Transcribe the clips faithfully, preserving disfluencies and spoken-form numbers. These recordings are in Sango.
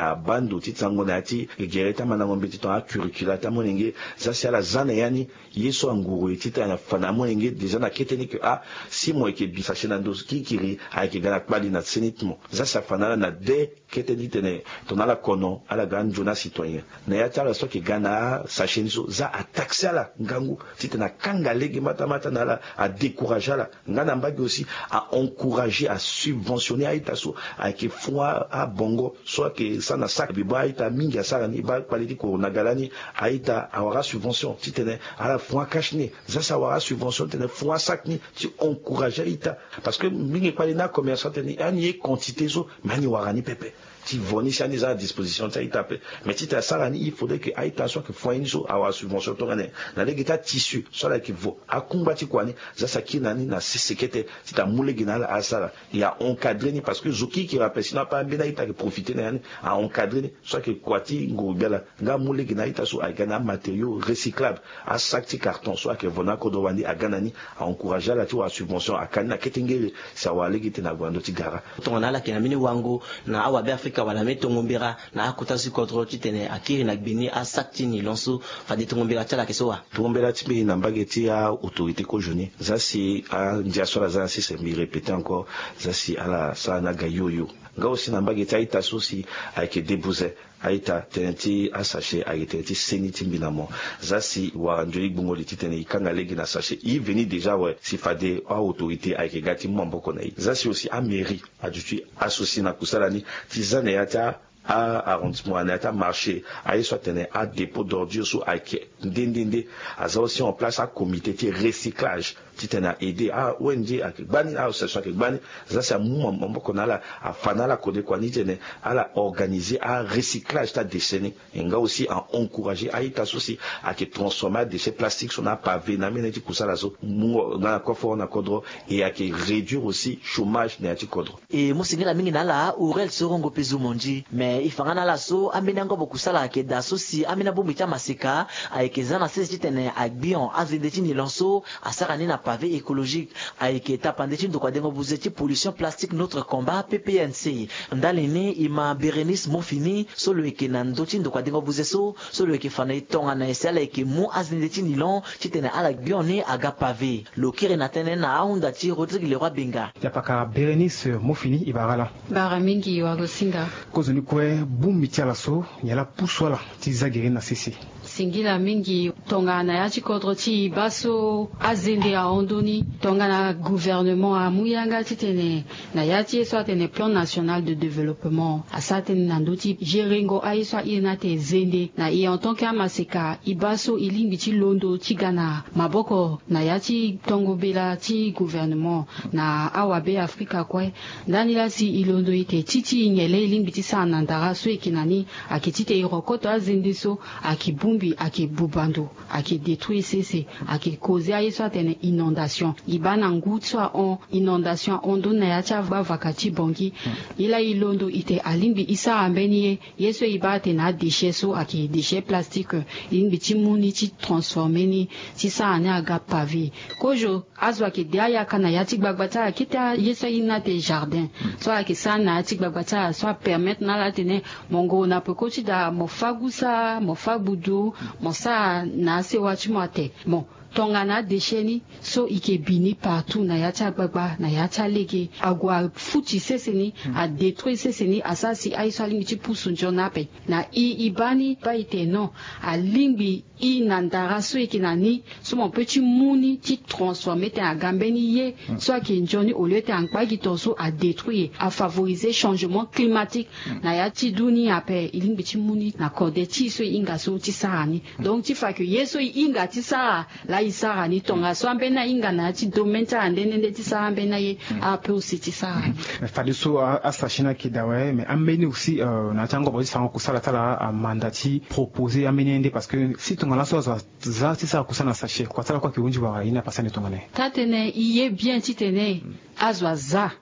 Abaa ndo ti tango na ya ti gere ti amandango mbeti tongana acurricula ti amolenge. Za si ala za na ya ni ye so anguru e titene afa na amolenge déjà na kete ni ke ah, si mo yeke bi sachet na ndo kirikiri ayeke ga na kpali na seni ti mo. Za si afa na ala na de kete ni titene tongana ala kono ala ga anzoni acitoyen. Na ya ti ala so ayeke ga na asachet ni so za ataxe ala ngangu titene akanga lege matamata na ala, adécourage ala. Nga na mbage aussi a encourager, a subventionner a-ita so ayeke fun abongo so ayeke sara na sac. Bi bâ a-ita mingi asara ni, bâ kpale ti corona ga lani, a-ita awara subvention titene ala fun acache ni. Za si awara subvention titene fun asac ni ti encourager a-ita. Parce que mingi kpale ni acommerçant tene ani ye quantité so, mais ani wara ni pepe. Ti vo ni si ani za na disposition ti a-ita ape. Mais titene asara ni, il faudrait que a-ita so ayeke fun aye ni so awara subvention tongana nyen? Na lege ti atissu so ala yeke vo akungba ti kua ni. Za si akiri na ni na sese kete titene amu lege na ala asara. E a encadrer ni parce que zo kirikiri ape sinon ape ambeni a-ita ayeke profiter na ya ni. A encadrer ni so ayeke kua ti nguru-gbia laa nga amu lege na a-ita so ayeke ga na amatériaux recyclables. Asac ti carton so ayeke vo na akodro wande aga na ni. A encourager ala ti wara subvention, aka ni na kete ngere si awara lege titene ague na ndö ti gara. Tongana ala yeke na mbeni wango na awabe afrika wala mbeni tongo mbera na akota ti kodro titene akiri na gbe ni asac ti nylon so, fade tongo mbera ti ala ayeke so wa? Tongo mbera ti mbi na mbage ti a-autorité kozo ni, za si andia so ala za na sese, mbi répéter encore, za si ala sara ni aga yoyo. Nga aussi na mbage ti a-ita so si ayeke debuze, a-ita, tënë ti asachet ayeke tënë ti seni ti mbi na mo. Za si wara nzoni gbungo li titene e kanga lege na sachet, e veni déjà awe, si fade a-autorité ayeke ga ti mu maboko na e. Za si aussi amairie aduti associer na kusala ni ti za na ya ti a-arrondissement wala na ya ti amarché aye so atene adépôt d'ordure so ayeke nde nde nde. Aza aussi en place acomité ti recyclage titene a-aider a-ong ayeke gbani, a-association ayeke gbani. Za si amu maboko na ala, afa na ala kode kua ni titene ala organiser arecyclage ti adéchet ni. E nga aussi a encourager a-ita so si ayeke transformer adéchet plastique so na apavé na ambeni ti kusala so, mungo nga na koforo na kodro. E ayeke réduire aussi chômage na ya ti kodro. E mo singila mingi na ala Aurel Sorongo Pezu Mondi. Me e fa nga na ala so ambeni angobo kusala ayeke daa so si ambeni abongbi ti amaseka ayeke za na sese titene agbion azende ti nylon so asara ni na pavé écologique. Ayeke tapande ti ndokua dengo buze ti pollution plastique Notre Combat, P P N C. Ndali ni e ma Bérénice Mofini so lo yeke na ndö ti ndokua dengo buze so, so lo yeke fa na e tongana nyen si ala yeke mu azende ti nylon titene ala gbion ni aga pavé. Lo kiri na tënë na ahunda ti Rodrigue Leroy Benga. Yapaka Bérénice Mofini, e bara ala. Bara mingi wagosinga. Kozoni kue bongbi ti ala so, nyen laa apusu ala ti za gere na sese? Singila mingi. Tongana na ya ti kodro ti e baa so azende ahon ndö ni, tongana gouvernement amu yanga titene na ya ti ye so atene plan national de développement asara tënë na ndö ti gerengo aye so airi ni atene zende. Na e en tant que amaseka, e baa so e lingbi ti londo ti ga na maboko na ya ti tongo bela ti gouvernement na awabe afrika kue. Ndani laa si e londo ete ti ti nyen laa e lingbi ti sara na ndara so e yeke na ni, ayeke titene e rokoto azende so ayeke bongbi, ayeke buba ndo, ayeke détruire sese, ayeke causer aye so atene inondation. E baa na ngu so ahon, inondation ahon ndö ni na ya ti agbavaka ti Bangui. E laa e londo ete alingbi e sara mbeni ye, ye so e baa atene adéchet so ayeke déchet plastique, e lingbi ti mu ni ti transformer ni ti sara ni aga pavé. Kozo azo ayeke de ayaka na ya ti gbagba ti ala, kete aye so airi ni atene jardin so ayeke sara ni na ya ti gbagba ti ala so apermettre na ala atene mo ngoro na peko ti daa, mo fâ gusa, mo fâ gbudu, mo sara na asewa ti mo ate. Bon, tongana adéchet ni so e yeke bi ni partout na ya ti agbagba, na ya ti alege, ague afuti sese ni, adétruire sese ni, asara si aye so alingbi ti pusu nzoni ape. Na e, e baa ni baa e tene non, alingbi e na ndara so e yeke na ni so mo peut ti mu ni ti transformer tene aga mbeni ye so ayeke nzoni, au lieu tene angba gi tongaso adétruire, afavoriser changement climatique na ya ti dunia ape. E lingbi ti mu ni na kode ti e so e hinga so ti sara ni. Donc ti fa ke ye so e hinga ti sara laa e sara ni, tongaso ambeni ahinga na ya ti domaine ti ala nde nde nde ti sara ambeni aye, ala peut aussi ti sara ni. Mais fadeso a, asachet ni ayeke daa awe, mais ambeni aussi, euh, na ya ti angobo ti sarango kusala ti ala amanda ti proposer ambeni ye nde, parce que si tongana laso azo aza ti sara kusala na sachet, kua ti ala kue ayeke hunzi wala ye ni apasani tongana nyen? Taa-tënë, e ye bien titene azo aza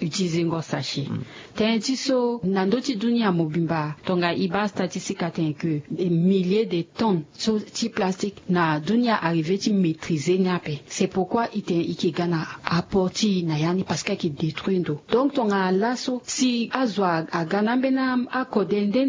utilizengo sachet. Tënë ti so na ndö ti dunia mobimba tonga e baa statistique atene ke milliers de tonnes so ti plastique na dunia arriver ti maîtriser ni ape. C'est pourquoi e tene e ke ga na apport ti e na ya ni parce que e ke détruire ndo. Donc tonga laso si azo aga na ambeni akode nde